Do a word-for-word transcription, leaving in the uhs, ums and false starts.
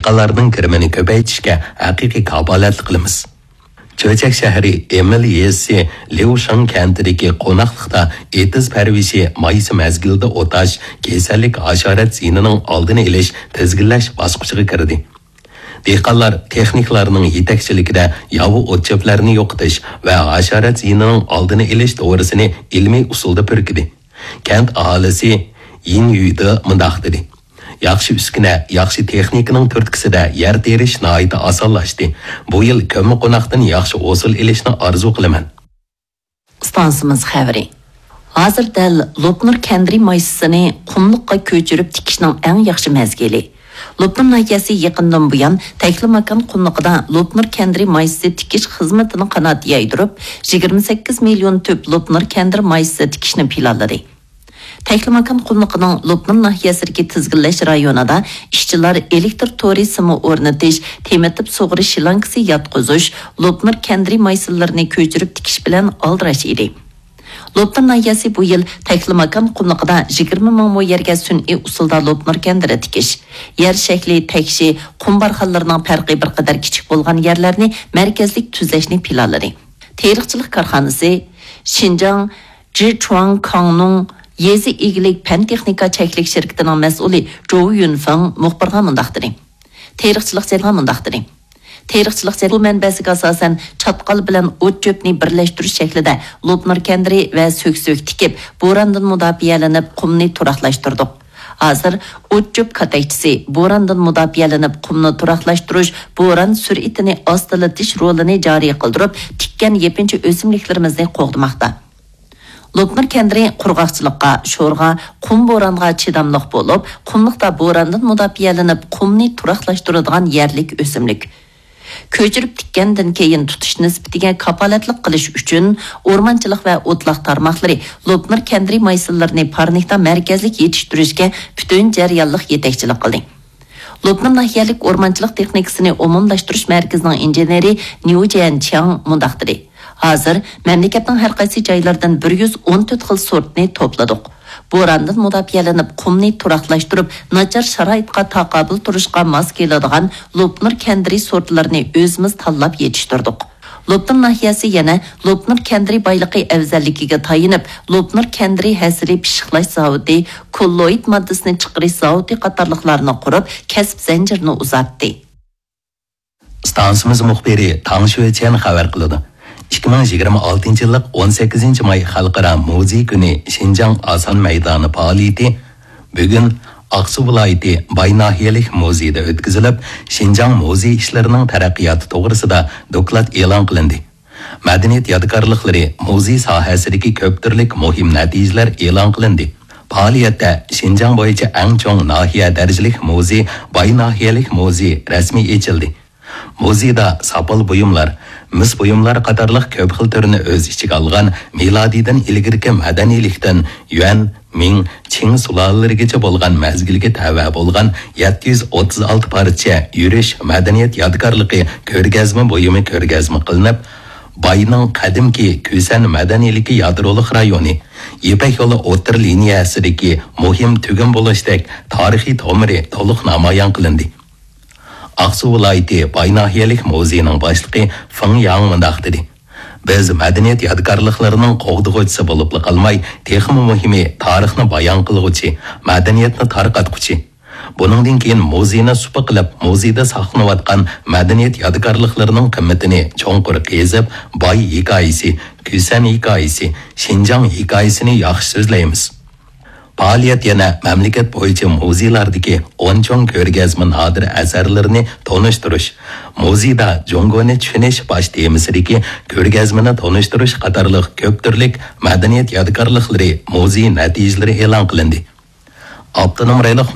ئۇلارنىڭ كىرىمىنى كۆپەيتىشكە ھەقىقىي كاپالەتلىك قىلىمىز. چۆچەك شەھىرى ئېمىل يېزىسى ليۇشېڭ كەنتىدىكى قوناقلىقتا ئېتىز پەرۋىشى مايسا مەزگىلىدە ئوتاش، كېسەللىك، ھاشارات زىيىنىنىڭ ئالدىنى ئېلىش، تىزگىنلەش باسقۇچىغا كىردى. دېھقانلار تېخنىكلارنىڭ يېتەكچىلىكىدە ياۋا ئوت-چۆپلەرنى يوقىتىش ۋە ھاشارات زىيىنىنىڭ ئالدىنى ئېلىش دورىسىنى ئىلمىي ئۇسۇلدا پۈركىدى. كەنت ئاھالىسى يىن يۈيدې مۇنداق دېدى: ياخشى ئۈسكۈنە، ياخشى تېخنىكىنىڭ تۈرتكىسىدە يەر تېرىش ناھايىتى ئاسانلاشتى. بۇ يىل كۆممىقوناقتىن ياخشى ھوسۇل ئېلىشنى ئارزۇ قىلىمەن. ئىستانسىمىز خەۋىرى. ھازىر دەل لوپنۇر كەندىرى مايسىسىنى قۇملۇققا كۆچۈرۈپ تىكىشنىڭ ئەڭ ياخشى مەزگىلى. لوپنۇر ناھىيەسى يېقىندىن بۇيان تەكلىماكان قۇملۇقىدا لوپنۇر كەندىرى مايسىسى تىكىش خىزمىتىنىڭ قانات يايدۇرۇپ، يىگىرمە سەككىز مىليون تۈپ لوپنۇر كەندىرى مايسىسى تىكىشنى پىلانلىدى. تەكلىماكان قۇملۇقىنىڭ لوپنۇر ناھىيەسىدىكى تىزگىنلەش رايونىدا ئىشچىلار ئېلېكتر تورى سىمى ئورنىتىش، تېمىتىپ سۇغىرىش شلانكىسى ياتقۇزۇش، لوپنۇر كەندىرى مايسىلىرىنى كۆچۈرۈپ تىكىش بىلەن ئالدىراش ئىدى. لوپنۇر ناھىيەسى بۇ يىل تەكلىماكان قۇملۇقىدا يىگىرمە مىڭ مو يەرگە سۈنئىي ئۇسۇلدا لوپنۇر كەندىرى تىكىش، يەر شەكلى، تەكشى، قۇم بارخانلىرىنىڭ پەرقى بىر قەدەر كىچىك بولغان يەرلەرنى مەركەزلىك تۈزەشنى پىلانلىدى. تېرىقچىلىق كارخانىسى شىنجاڭ جىچۇاڭ كاڭنۇڭ يېزا ئىگىلىك پەن تېخنىكا چەكلىك شىركىتىنىڭ مەسئۇلى جوۋ يۈنفېڭ مۇخبىرغا مۇنداق دېدى. تېرىقچىلىق جەريانى مۇنداق دېدى. تېرىقچىلىق جەريانى سۇ مەنبەسىگە ئاساسەن چاتقال بىلەن ئوت-چۆپنى بىرلەشتۈرۈش شەكلىدە لوپنۇر كەندىرى ۋە سۆكسۆك تىكىپ، بوراندىن مۇداپىئەلىنىپ، قۇمنى تۇراقلاشتۇردۇق. ھازىر ئوت-چۆپ كاتەكچىسى، بوراندىن مۇداپىئەلىنىپ، قۇمنى تۇراقلاشتۇرۇش، بوران سۈرئىتىنى ئاستىلىتىش رولىنى جارى قىلدۇرۇپ، تىككەن يېپىنچا ئۆسۈملۈكلىرىمىزنى قوغدىماقتا. لوپنۇر كەندىرى قۇرغاقچىلىققا، شورغا، قۇم بورانغا چىداملىق بولۇپ، قۇملۇقتا بوراندىن مۇداپىئەلىنىپ، قۇمنى تۇراقلاشتۇرىدىغان يەرلىك ئۆسۈملۈك. كۆچۈرۈپ تىككەندىن كېيىن تۇتۇش نىسبىتىگە كاپالەتلىك قىلىش ئۈچۈن، ئورمانچىلىق ۋە ئوتلاق تارماقلىرى لوپنۇر كەندىرى مايسىلىرىنى پارنىكتا مەركەزلىك يېتىشتۈرۈشكە پۈتۈن جەريانلىق يېتەكچىلىك قىلدى. لوپنۇر ناھىيەلىك ئورمانچىلىق تېخنىكىسىنى ئومۇملاشتۇرۇش مەركىزىنىڭ ئىنژېنېرى نيۇ جيەنچياڭ مۇنداق دېدى: ھازىر مەملىكەتنىڭ ھەر قايسى جايلىرىدىن بىر يۈز ئون تۆت خىل سورتنى توپلىدۇق. بوراندىن مۇداپىئەلىنىپ، قۇمنى تۇراقلاشتۇرۇپ، ناچار شارائىتقا تاقابىل تۇرۇشقا ماس كېلىدىغان لوپنۇر كەندىرى سورتلىرىنى ئۆزىمىز تاللاپ يېتىشتۈردۇق. لوپنۇر ناھىيەسى يەنە لوپنۇر كەندىرى بايلىقى ئەۋزەللىكىگە تايىنىپ، لوپنۇر كەندىرى ھەسىلى پىششىقلاش زاۋۇتى، كوللوئىد ماددىسىنى چىقىرىش زاۋۇتى قاتارلىقلارنى قۇرۇپ، كەسىپ زەنجىرىنى ئۇزارتتى. ئىستانسىمىز مۇخبىرى تاڭ شۈيچيەن خەۋەر قىلىدۇ. ئىككى مىڭ يىگىرمە ئالتىنچى يىللىق ئون سەككىزىنچى ماي خەلقئارا مۇزېي كۈنى شىنجاڭ ئاسان مەيدانى پائالىيىتى بۈگۈن ئاقسۇ ۋىلايىتى باي ناھىيەلىك مۇزېيدا ئۆتكۈزۈلۈپ، شىنجاڭ مۇزېي ئىشلىرىنىڭ تەرەققىياتى توغرىسىدا دوكلات ئېلان قىلىندى. مەدەنىيەت يادىكارلىقلىرى، مۇزېي ساھەسىدىكى كۆپتۈرلۈك مۇھىم نەتىجىلەر ئېلان قىلىندى. پائالىيەتتە شىنجاڭ بويىچە ئەڭ چوڭ ناھىيە دەرىجىلىك مۇزېي، باي ناھىيەلىك مۇزېي رەسمىي ئېچىلدى. مۇزېيدا ساپال بۇيۇملار، مىس بۇيۇملار قاتارلىق كۆپ خىل تۈرنى ئۆز ئىچىگە ئالغان مىلادىيدىن ئىلگىرىكى مەدەنىيلىكتىن يۈەن، مىڭ، چىڭ سۇلالىلىرىگىچە بولغان مەزگىلگە تەۋە بولغان يەتتە يۈز ئوتتۇز ئالتە پارچە يۈرۈش مەدەنىيەت يادىكارلىقى كۆرگەزمە بۇيۇمى كۆرگەزمە قىلىنىپ، باينىڭ قەدىمكى كۈسەن مەدەنىيلىكى يادرولۇق رايونى، يىپەك يولى ئوتتۇرا لىنىيەسىدىكى مۇھىم تۈگۈن بولۇشتەك تارىخىي تومۇرى تولۇق نامايان قىلىندى. ئاقسۇ ۋىلايىتى باي ناھىيەلىك مۇزېيىنىڭ باشلىقى فېڭ ياڭ مۇنداق دېدى: بىز مەدەنىيەت يادىكارلىقلىرىنىڭ قوغدىغۇچىسى بولۇپلا قالماي، تېخىمۇ مۇھىمى، تارىخنى بايان قىلغۇچى، مەدەنىيەتنى تارقاتقۇچى. بۇنىڭدىن كېيىن مۇزېينى سۇپا قىلىپ، مۇزېيدا ساقلىنىۋاتقان مەدەنىيەت يادىكارلىقلىرىنىڭ قىممىتىنى چوڭقۇر قېزىپ، باي ھېكايىسى، كۈسەن ھېكايىسى، شىنجاڭ ھېكايىسىنى ياخشى سۆزلەيمىز. پائالىيەت يەنە مەملىكەت بويىچە مۇزېيلاردىكى ئون چوڭ كۆرگەزمە نادىر ئەسەرلىرىنى تونۇشتۇرۇش، مۇزېيدا جۇڭگونى چۈشىنىش باش تېمىسىدىكى كۆرگەزمىنى تونۇشتۇرۇش قاتارلىق كۆپ تۈرلۈك مەدەنىيەت يادىكارلىقلىرى، مۇزېي نەتىجىلىرى ئېلان قىلىندى. ئاپتونوم رايونلۇق